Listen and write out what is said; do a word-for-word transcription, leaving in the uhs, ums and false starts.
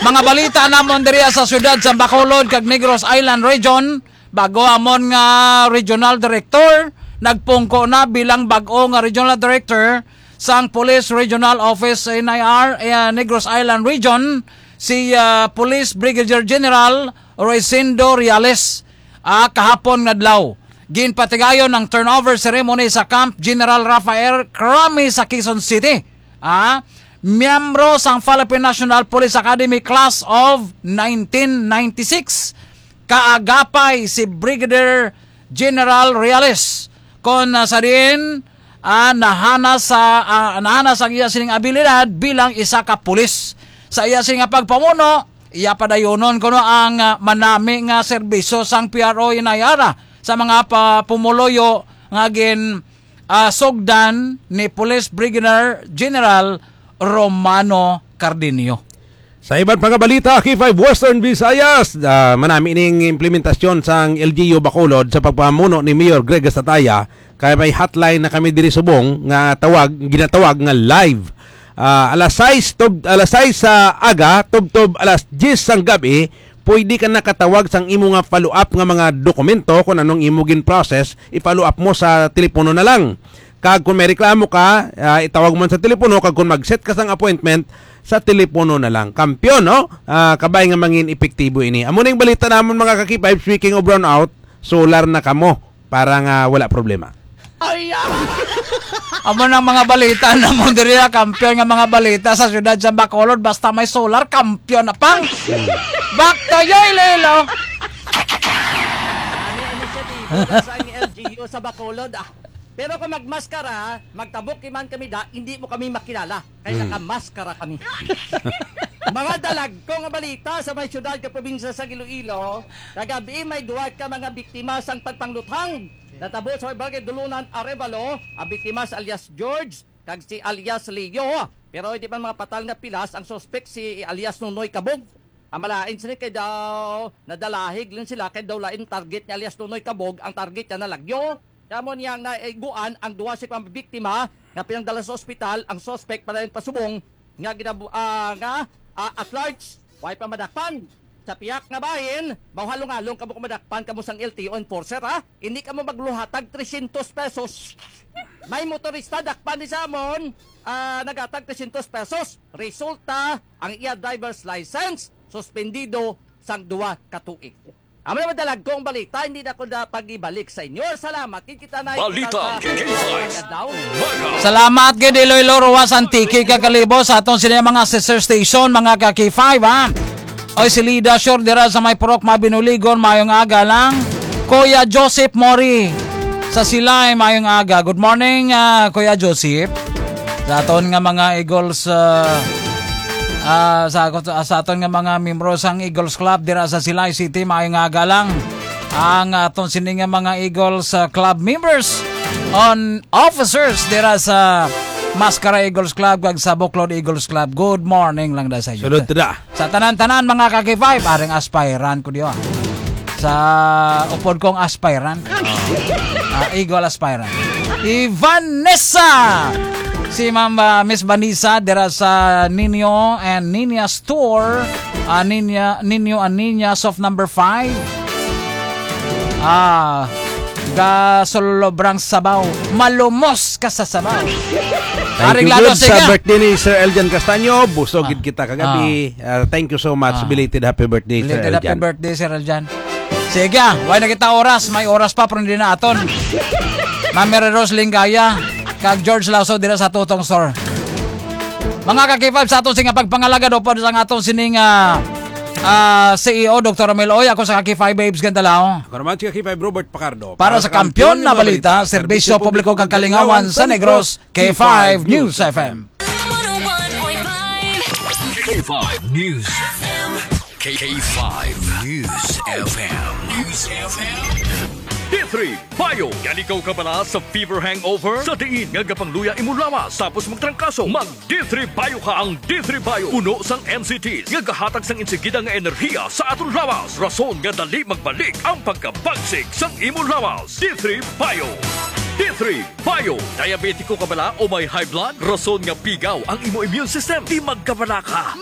Mga balita namon diri sa siyudad sa Bacolod kag Negros Island Region, bago amon nga regional director, nagpungko na bilang bag-o nga regional director sang Police Regional Office, N I R, eh, Negros Island Region, si, ah, Police Brigadier General Rosendo Reales, ah, kahapon nga adlaw. Ginpatigayon ang turnover ceremony sa Camp General Rafael Crame sa Quezon City. Ah, miyembro sang Philippine National Police Academy Class of nineteen ninety-six, kaagapay si Brigadier General Reales, kon, ah, sa diin, ah, nahanas sa, ah, nahanas ang iya sining abilidad bilang isa ka pulis. Sa iya sini nga pagpamuno, iya padayonon kuno ang, ah, manami nga serbisyo sang P R O Inayara sa mga pa-, pumuluyo nga gin, ah, sugdan ni Police Brigadier General Romano Cardenio. Sa iban pa nga balita, K five Western Visayas, ah, manami ning implementasyon sang L G U Bacolod sa pagpamuno ni Mayor Greg Estataya, kay may hotline na kami diri subong nga tawag, ginatawag nga live. Ah, alas sais tub-, alas sais sa aga, tubtob alas diyes sang gab-i, pwede ka nakatawag sang imo nga follow-up nga mga dokumento kung anong imo gin-process, i-follow up mo sa telepono na lang. Kag kung may reklamo ka, ah, itawag mo sa telepono, kag kung mag-set ka sang appointment, sa telepono na lang. Kampiyon, no? Ah, kabay nga mangin epektibo ini. Amo ning balita namon, mga ka-K five, speaking of brownout, solar na kamo para nga wala problema. Ay, ah! Amo nang mga balita namon diri, ah, kampiyon nga mga balita sa siyudad sa Bacolod, basta may solar, kampiyon na pang. Back to you, Iloilo. Ano ang initiative sa L G U sa Bacolod, ah? Pero kung magmaskara, magtabuki man kami da, hindi mo kami makilala. Kay Mm. nakamaskara kami. Mga dalagko nga balita sa may siyudad kag probinsya sa Iloilo, kagabi may duha ka mga biktima sang pagpangluthang. Natabo sa Barangay Dulunan, Arevalo, ang biktima si alias George kag si alias Leo. Pero hindi man mga patal nga pilas ang suspek si alias Nonoy Kabog. Ang malain sini kay daw nadalahig lang sila kay daw lain target ni alias Nonoy Kabog ang target niya na lagyo. Kamo niya nga naiguan ang duha sa mga biktima nga pinangdala sa ospital ang suspect padayon pasubong nga ginabu-, ah, nga, ah, at large. Way pa madakpan. Sa piyak nga bahin, mauhalong-halong kamo kung madakpan kamo sang L T O enforcer, ha? Hindi kamo magluhatag trescientos pesos. May motorista dakpan ni samon, ah, nagatag trescientos pesos. Resulta, ang iya driver's license suspendido sang duha ka tuig. Amo na madalagkong balita, hindi na ko na pag-ibalik sa inyo. Salamat, kita na Balita, kita sa K five. Salamat gid, Iloilo, Roxas, Antique, kag Kalibo, sa aton sini mga sister station, mga ka K five, ha. Oy, si Lida Shore dira sa may Purok Mabinuligon, mayong aga lang. Kuya Joseph Mori sa Silay, mayong aga. Good morning, ah, Kuya Joseph. Sa aton nga mga Eagles, ah, ah, sa, sa aton nga mga membro sang Eagles Club dira sa Silay City, maayong aga lang. Ang aton sini nga mga Eagles, ah, Club members on officers dira sa Mascara Eagles Club kag sa Buklod Eagles Club. Good morning lang da sa inyo. Sulod ta da. Sa tanan-tanan, mga ka K five, aring aspirant ko diyo, ah. Sa upod kong aspirant. Ah, Eagle aspirant. I Vanessa! Si Ma'am, ah, Miss Vanessa dira sa Nino and Nina Store. Ah, Nina, Nino and Nina Soft number five. Ah, gasolobrang sabaw. Malumos ka sa sabaw. Thank Aring you, lalo, good. Sa sige. Birthday ni Sir Eljan Castaño, busog Ah. gid kita kagabi. Ah. Ah, thank you so much. Ah. Belated happy birthday, Sir Belated happy Eljan. birthday, Sir Eljan. Sige, ah, way na kita oras. May oras pa, pero hindi na aton. Ma'am Mary Rose Lingaya, kag George Lasso dira sa Tutong Store. Mga ka K five, sa aton sini nga pagpangalagad, upod sa aton sining, ah, ah, C E O, Doktor Romel Oy, ako sa ka K five Babes Gandalao. Ako naman si ka K five Robert Pacardo. Para sa Kampiyon na Balita, Serbisyo Publiko kag Kalingawan sa Negros, K five News F M. K five News F M. K five News F M. News F M. D three Bio. Yan ikaw kabala sa fever hangover? Sa diin nga gapangluya imong lawas tapos magtrangkaso? Mag D three Bio ka. Ang D three Bio puno sang N C Ts nga gahatag sang insigida nga enerhiya sa aton lawas, rason nga dali magbalik ang pagkabagsik sang imong lawas. D three Bio. D three Bio. Diabetiko ka bala o may high blood? Rason nga pigaw ang imo immune system. Di magkabala ka.